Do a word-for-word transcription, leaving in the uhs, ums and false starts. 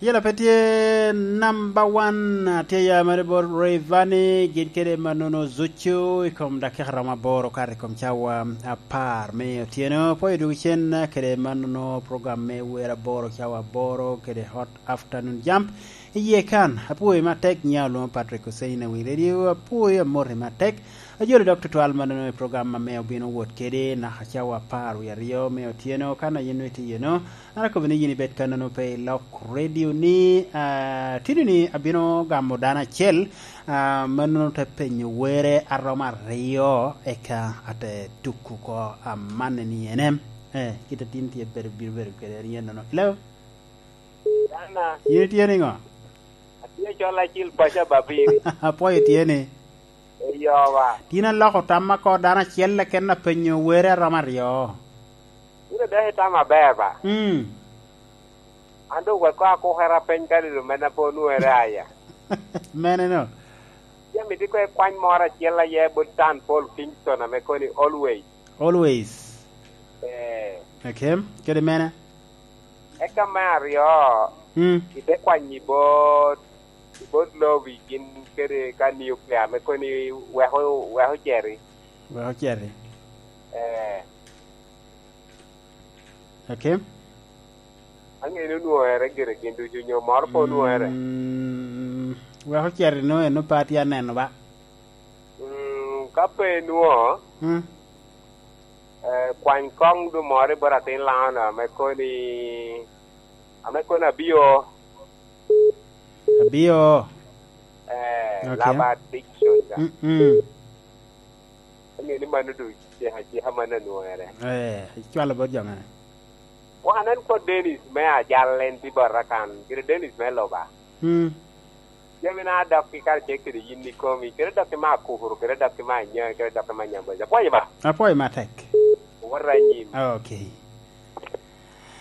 Yela pe tye namba wan, atye ya mere bot Rayvanny, gin kede mannono Zucu i kom dakika romo aboro kato i kom cawa apar me otyeno. Apwoyo dwogo cen kede mannono program me wer aboro cawa aboro kede Hot Afternoon Jump. Iye kan, apwoyo matek, nya olwoŋo Patrick Hussein Awi Radio, apwoyo, amoti matek. Ajolo dok tutwal mannono i program ame obino wot kede naka cawa apar wie aryo me otyeno, kan a yin nwoŋo itye iyeno. An akobo ni yin ibed kannono pe i lok radio ni, ah, tini ni abino gamo dano acel, ah, mannono te penyo were aromo aryo, eka ate tuko oko amanne ni en em. Eh, kit a tin tye bedo, bino bedo kede en yen nono. Hello? Dana, yin itye niŋo? Atye col acil paco ababiri. Apwoyo tye ni. Eyo ba. Tin aloko tamma oko dano acel keken apenyo were aromo aryo. Bino dok itamo aber ba. Mm. An doŋ wek koŋ akukere apeny kadi doŋ mene pe onwoŋere aya. Mene no? Jami tye koŋ ikwany moro acel aye bot Tan Paul Kingston ame koni always. Always. Eh. Okay. Kede mene? Eka me aryo, mm, ite kwanyo i bot, i bot lobi gin kede ka nuclear me koni weko, weko ceri. Weko ceri. Eh. Okay. Aŋeo ni onwoŋere gire gin ducu nyo moro pe onwoŋere. Mm, weko ceri no eno pe atye aneno ba. Mm, ka pe nwoŋo, mm, eh, kwany koŋ du moro i bot atin Laŋo-nu ame koni, ame koni abio. Abio? Eh, okay. Laba addiction ka. Mm, mm. Aŋeo ni mano du cika, cika mano anwoŋere. Eh, icwalo bot jo mene? Wan en kod Dennis me ajal en tye bota kan, gire Dennis me Loba. Mm. Jami na dok i karacel kede yin ikomi, kede dok i me akukuru, kede dok i me anya, kede dok i me anyambaca. Apwoyo ba? Apwoyo matek. Owot anyim. Okay.